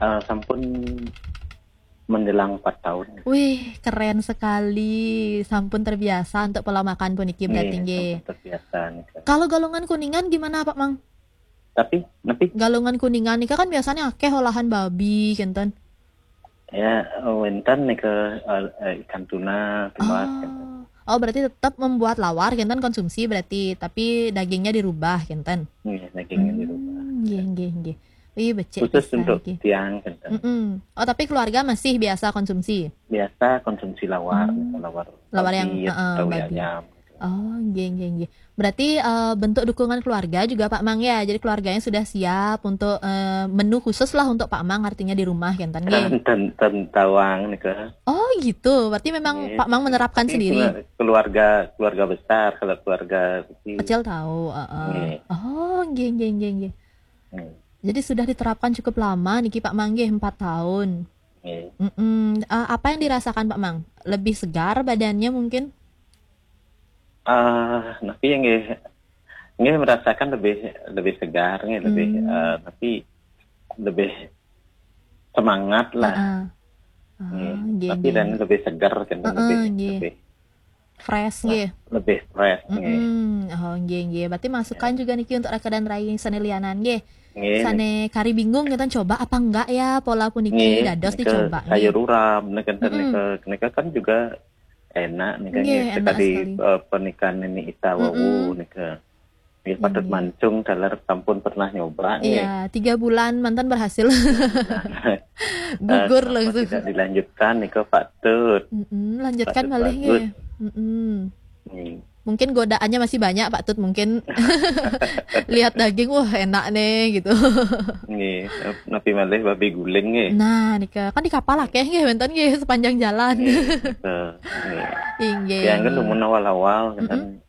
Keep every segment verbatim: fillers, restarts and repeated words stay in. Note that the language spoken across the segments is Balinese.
Eh, sampun menjelang empat tahun. Wih, keren sekali. Sampun terbiasa untuk pola makan puniki berarti nggih. Sampun terbiasa nih. Kalau Galungan Kuningan gimana, Pak Mang? Tapi, tapi Galungan Kuningan nika kan biasanya akeh olahan babi, kenten. Ya, wenten nih ke eh, ikan tuna, tumbas. Oh. Oh, berarti tetap membuat lawar, kenten, konsumsi berarti, tapi dagingnya dirubah, kenten. Iya, dagingnya dirubah. Hmm, nggih, nggih, nggih. Ih, becik Khusus pisan untuk iki. Tiang, kenten. Mm-mm. Oh, tapi keluarga masih biasa konsumsi? Biasa konsumsi lawar, lawar, Lawar yang, babi heeh, atau babi. Ayam. Oh, nggih, nggih, nggih. Berarti eh, bentuk dukungan keluarga juga, Pak Mang, ya. Jadi keluarganya sudah siap untuk eh, menu khusus lah untuk Pak Mang, artinya di rumah, kenten nggih. Ten, ten, ten tawang nih ke. Oh, gitu. Berarti memang Iya. Pak Mang menerapkan Tapi sendiri. Keluarga, keluarga besar, kalau keluarga kecil. Kecil tahu, heeh. Iya. Oh, nggih, nggih, nggih, nggih. Hmm. Jadi sudah diterapkan cukup lama niki, Pak Mang, nggih, empat tahun. Iya. Mm-mm. Eh, apa yang dirasakan, Pak Mang? Lebih segar badannya mungkin? Ah, tapi yang nggih, nggih merasakan lebih, lebih segar, nggih, lebih Hmm. eh, tapi lebih semangat lah. Heeh. Ah, Nggih. nggih, Tapi nggih, dan nggih. lebih segar kan, Heeh, lebih, nggih. Lebih Fresh nggih. Lebih fresh, nggih. Mm-mm. Oh, nggih, nggih. Berarti masukan juga niki untuk raka dan rai sane lianan nggih. Nggih. Sane kari bingung, kita coba apa enggak ya pola puniki, Nggih, dados nika dicoba nggih. Sayur urap, nika, Mm-mm. nika, nika kan juga enak, nika, Nggih, nggih. enak Tadi sekali. Eh, pernikahan ini ita wau, Mm-mm. nika. Nggih, patut Nggih. Mancung, taler sampun pernah nyoba, nggih. Iya, tiga bulan mantan berhasil. Eh, Gugur kenapa langsung. Tidak dilanjutkan, nika patut. Mm-mm, lanjutkan Patut malih bagus. Nggih. Mm-mm. Nggih. Mungkin godaannya masih banyak, Pak Tut, mungkin lihat daging, wah, enak nih gitu. Nggih, napi malih babi guling, nggih. Nah, nika kan di kapal akeh nggih, wenten nggih sepanjang jalan. Nggih, nika, nggih. Inggih. Yang kan dumun awal-awal kan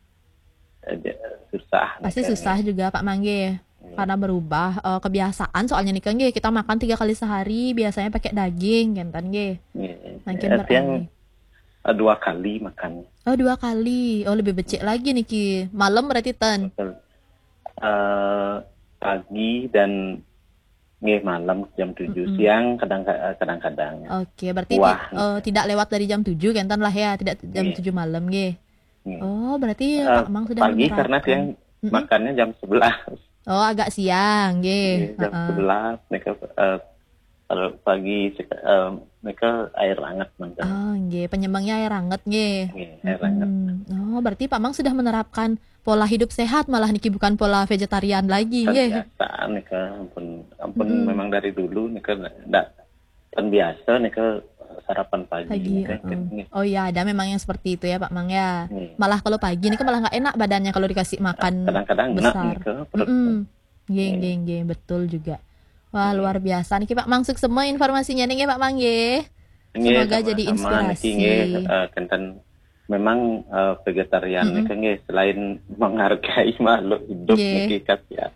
aja susah. Pasti Nika. Susah juga, Pak Mang nggih. Karena berubah eh, kebiasaan, soalnya nika nggih, kita makan tiga kali sehari, biasanya pakai daging, kenten nggih. Nggih. Makin Eh, tiang, beralih. Eh, dua kali makan. Oh, dua kali. Oh, lebih becik lagi niki. Malam berarti ten. Eh, pagi dan nggih, malam jam tujuh, Mm-mm. Siang kadang, kadang-kadang. Oke, berarti Wah. ti- eh, tidak lewat dari jam tujuh, kenten lah ya, tidak jam Iya. tujuh malam nggih. Iya. Oh, berarti Eh, Pak Mang sudah pagi karena menerapkan. Siang Mm-mm. Makannya jam sebelas. Oh, agak siang nggih. Iya, jam Heeh. sebelas, mereka eh, kalau pagi sek- eh, mereka air hangat mantan. Ah, nggih, penyemangnya air hangat nggih. Nggih, air hangat. Mm-mm. Oh, berarti Pak Mang sudah menerapkan pola hidup sehat, malah niki bukan pola vegetarian lagi nggih. Terbiasa nika, ampun, ampun Mm-mm. Memang dari dulu nika ndak terbiasa nika sarapan pagi, Pagi, nika, heeh. nggih. Oh ya, ada memang yang seperti itu ya, Pak Mang ya. Nggih. Malah kalau pagi nika malah nggak enak badannya kalau dikasih makan Kadang-kadang enak besar. nika perut. Mm-mm. Nggih, Nggih. nggih, nggih, betul juga. Wah, Nggih. Luar biasa niki, Pak Mang, suksema informasinya nih nggih, Pak Mang nggih. Nggih, Semoga jadi sama-sama, inspirasi. Niki, nggih, eh, kenten memang eh, vegetarian Mm-mm. niki, nggih, selain menghargai makhluk hidup Nggih. niki, kan, ya.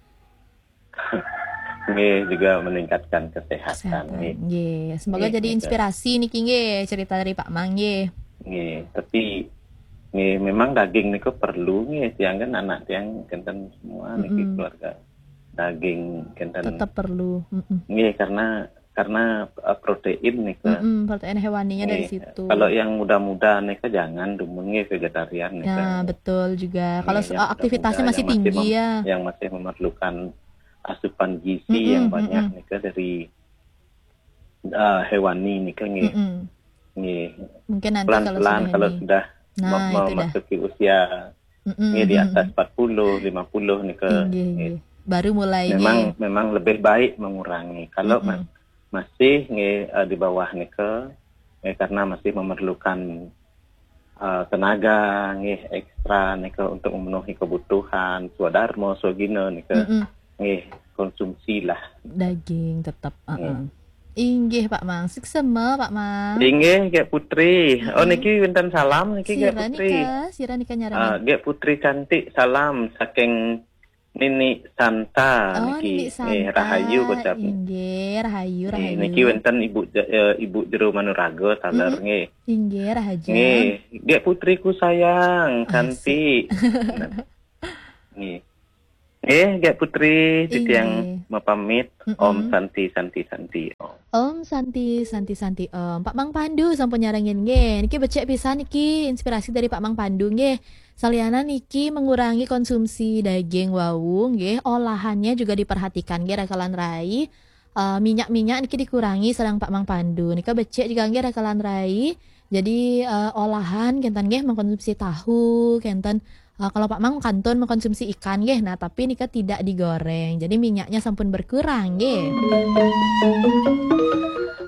Nggih, juga meningkatkan kesehatan, Kesehatan. Nggih. Nggih, semoga Nggih, jadi nggih. Inspirasi niki nggih, cerita dari Pak Mang nggih. Nggih, tapi nggih, memang daging niku perlu nggih, tiang kan anak tiang kenten semua niki Mm-mm. Keluarga. Daging kenten. Tetap perlu. Mm-mm. Nggih, karena karena eh, protein niku. Mm-mm, protein hewaninya dari Nggih. Situ. Kalau yang muda-muda niku jangan dumun nggih, vegetarian niku. Ya, betul juga. Kalau Nggih, se- yang aktivitasnya muda-muda masih yang masih tinggi mem- ya. Yang masih memerlukan asupan gizi Mm-mm, yang banyak mm-mm. niku dari eh, hewani niku nggih. Mm-mm. Nggih. Mungkin nanti kalau Pelan-pelan sudah kalau ini. Sudah Nah, mem- itu dah. memasuki usia Mm-mm, nggih, di atas mm-mm. empat puluh, lima puluh niku. Inggih, Nggih. inggih. Baru mulai Memang nggih. Memang lebih baik mengurangi. Kalau Mm-mm. ma- masih nggih, eh, di bawah niku, nggih, karena masih memerlukan eh, tenaga nggih, ekstra niku untuk memenuhi kebutuhan swadarma, swagina niku. Mm-mm. Nggih, konsumsilah. Daging tetap. Heeh. Inggih, Pak Mang. Suksema, Pak Mang. Inggih, Gek Putri. Oh, Mm-mm. Niki wenten salam niki, Gek Sira Putri. Nika, sira Nika nyarani. Ah, Gek Putri cantik, salam saking Nini Santa Oh, niki. Nini Eh, Santa. Rahayu ucap. Inggih, rahayu, Nggih, rahayu. Niki wenten Ibu Je- eh, Ibu Jero Manuraga, taler Mm-mm. Nggih. Inggih, rahayu. Nggih, Gek Putriku sayang, Asik. Cantik. Nggih. Eh, Gek Putri, titiang Inggih. mapamit. Mm-mm. Om Santi, Santi, Santi, Om. Om Santi, Santi, Santi, Om. Pak Mang Pandu sampun nyarengin nggih. Niki becik pisan niki inspirasi dari Pak Mang Pandu nggih. Salianan niki mengurangi konsumsi daging wau nggih, olahannya juga diperhatikan nggih, rakelan rai. Eh, minyak-minyak niki dikurangi sareng Pak Mang Pandu. Nika becik juga nggih, rakelan rai. Jadi eh, olahan kenten nggih, mengkonsumsi tahu kenten. Eh, kalau Pak Mang kantun mengkonsumsi ikan nggih, nah tapi nika tidak digoreng. Jadi minyaknya sampun berkurang nggih.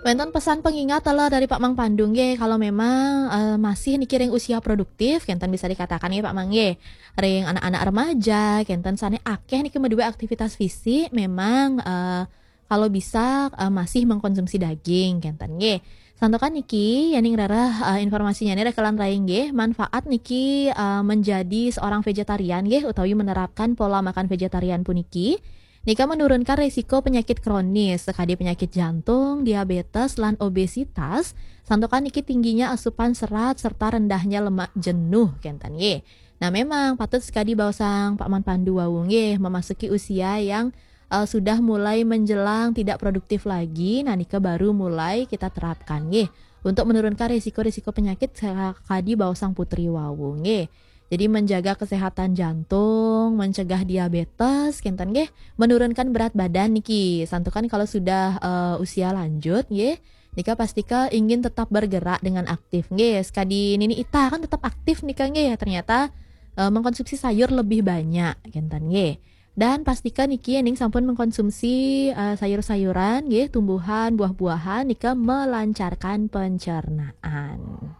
Wenten pesan pengingat lah dari Pak Mang Pandu nggih, kalau memang eh, masih niki ring usia produktif, kenten bisa dikatakan nggih Pak Mang nggih. Ring anak-anak remaja, kenten sane akeh niki meduwe aktivitas fisik, memang eh, kalau bisa eh, masih mengkonsumsi daging, kenten nggih. Santukan niki, yening rereh eh, informasinya nih, rakelan rai nggih, manfaat niki eh, menjadi seorang vegetarian nggih, utawi menerapkan pola makan vegetarian puniki. Nika menurunkan risiko penyakit kronis, sekadi penyakit jantung, diabetes, lan obesitas, santukan niki tingginya asupan serat serta rendahnya lemak jenuh, kenten nggih. Nah, memang patut sekadi baosang Pak Mang Pandu wau nggih, memasuki usia yang eh, sudah mulai menjelang tidak produktif lagi, nah nika baru mulai kita terapkan nggih. Untuk menurunkan risiko-risiko penyakit, sekadi baosang Putri wau nggih. Jadi menjaga kesehatan jantung, mencegah diabetes, kenten nggih, menurunkan berat badan niki. Santukan kalau sudah eh, usia lanjut nggih, nika pastika ingin tetap bergerak dengan aktif nggih. Sekadi Nini Ita kan tetap aktif nika nggih, ternyata eh, mengkonsumsi sayur lebih banyak, kenten nggih. Dan pastika niki yening sampun mengkonsumsi eh, sayur-sayuran nggih, tumbuhan, buah-buahan, nika melancarkan pencernaan.